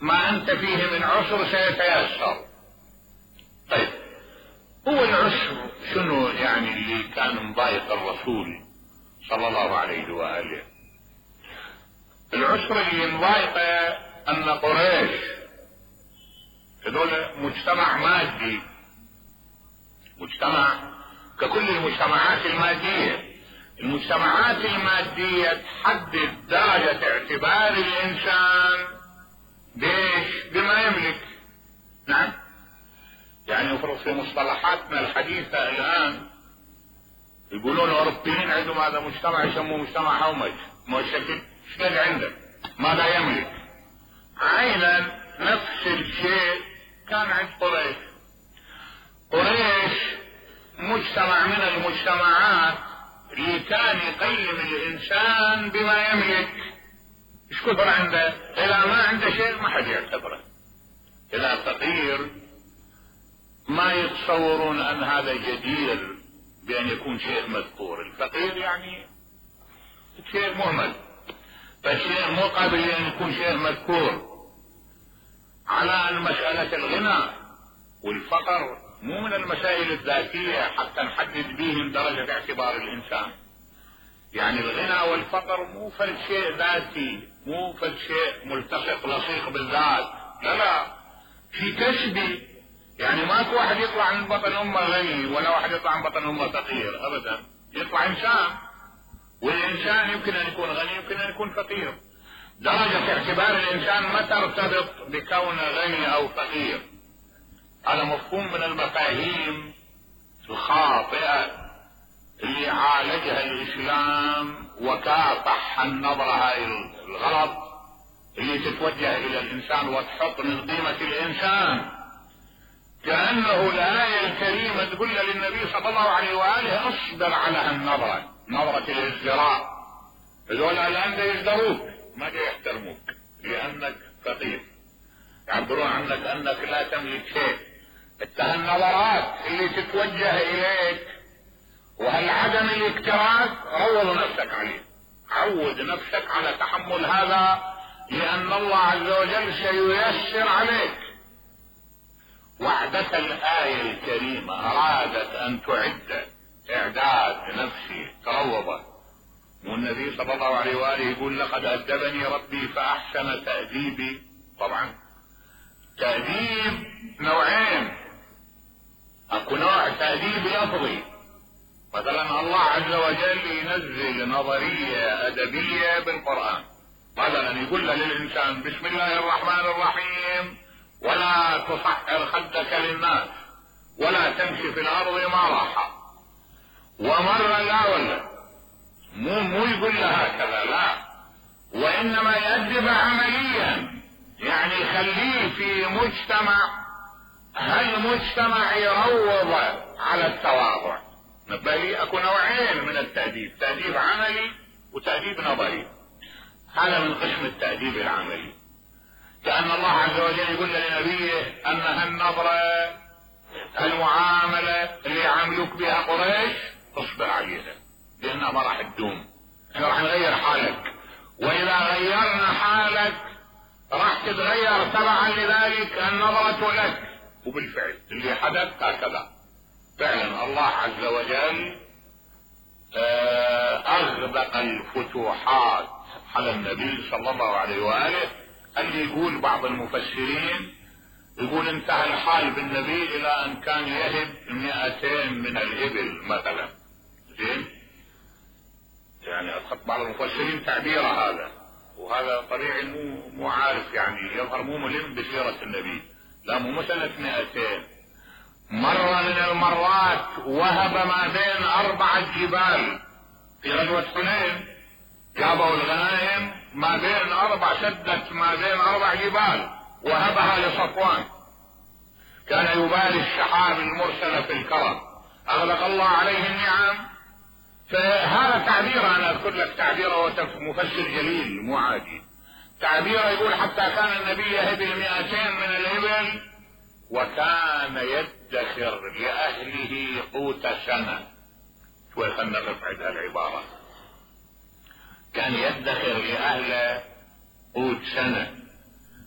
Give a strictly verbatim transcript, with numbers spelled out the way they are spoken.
ما أنت فيه من عسر سيتيسر. طيب هو العسر شنو يعني اللي كان مضايق الرسول صلى الله عليه وآله؟ العسر اللي مضايقه أن قريش هذول مجتمع مادي، مجتمع ككل المجتمعات المادية. المجتمعات المادية تحدد درجة اعتبار الإنسان بيش بما يملك. نعم، يعني افرض في مصطلحاتنا الحديثة الآن يقولون الأوروبيين عندهم هذا مجتمع يسموه مجتمع هومج، مشكل شكل عنده ماذا يملك. عينا نفس الشيء كان عند قريش. قريش مجتمع من المجتمعات اللي كان يقيم الإنسان بما يملك. ايش كثر عنده؟ إذا ما عنده شيء ما حد يعتبره. إذا فقير ما يتصورون أن هذا جدير بأن يكون شيء مذكور. الفقير يعني شيء مهمل، فالشيء مو قابل لأن يكون شيء مذكور. على أن مسألة الغنى والفقر مو من المسائل الذاتية حتى نحدد بهم درجة اعتبار الإنسان. يعني الغنى والفقر مو فل شيء ذاتي، مو فل شيء ملتصق لصيق بالذات، لا لا، في كسبي. يعني ماكو واحد يطلع من بطن امه غني ولا واحد يطلع من بطن امه فقير ابدا، يطلع انسان، والانسان يمكن ان يكون غني يمكن ان يكون فقير. درجة اعتبار الانسان ما ترتبط بكونه غني او فقير. هذا مفهوم من المفاهيم الخاطئة اللي عالجها الاسلام وكافح النظرة هاي الغلط اللي تتوجه الى الانسان وتحط من قيمة الانسان كأنه الآية الكريمة تقول للنبي صلى الله عليه وآله اصبر على هالنظرة، نظرة الازدراء. هذول الآن يزدروك ما يحترموك لأنك فقير، يعبرون عنك أنك لا تملك شيء. انت هالنظرات اللي تتوجه إليك وهالعدم الاكتراث روض نفسك عليه، عود نفسك على تحمل هذا، لأن الله عز وجل سييسر عليك. وعدة الآية الكريمة أرادت أن تعد إعداد نفسي تروضة، والنبي صلى الله عليه وآله يقول لقد أدبني ربي فأحسن تأديبي. طبعا تأديب نوعين، أكو نوع تأديب لفظي، مثلا الله عز وجل ينزل نظرية أدبية بالقرآن، مثلا يقول للإنسان بسم الله الرحمن الرحيم ولا تصحر خدك للناس ولا تمشي في الارض مرحا. ومرة لا ولا مو مو يقول لها هكذا، لا، وانما يأدب عمليا، يعني يخليه في مجتمع، هالمجتمع يروض على التواضع. نبالي اكو نوعين من التأديب، تأديب عملي وتأديب نظري. هذا من قسم التأديب العملي، كأن الله عز وجل يقول لنبيه أن هالنظرة المعاملة اللي يعاملوك بها قريش اصبر عليها لأنها ما راح تدوم، احنا راح نغير حالك، وإذا غيرنا حالك راح تتغير تبعا لذلك النظرة لك. وبالفعل اللي حدث هكذا فعلا الله عز وجل أغدق الفتوحات على النبي صلى الله عليه وآله. اللي يقول بعض المفسرين يقول انتهى الحال بالنبي الى ان كان يهب مئتين من الابل مثلا. زين، يعني اخذت بعض المفسرين تعبير هذا، وهذا طبيعي مو مو عارف، يعني يظهر مو ملم بسيرة النبي. لا مو مسألة مئتين، مرة من المرات وهب ما بين اربعة جبال في غزوة حنين، جابوا الغنائم ما بين اربع شدت ما بين اربع جبال وهبها لصفوان، كان يبالي الشحاب المرسلة في الكرم، اغلق الله عليه النعم. فهذا تعبير، انا اذكر لك تعبيره مفسر جليل مو عادي، تعبيره يقول حتى كان النبي يهب المئتين من الابل وكان يدخر لاهله قوت سنة. شوي خلنا نفعل هالعبارة، كان يدخر لأهله قوت سنة.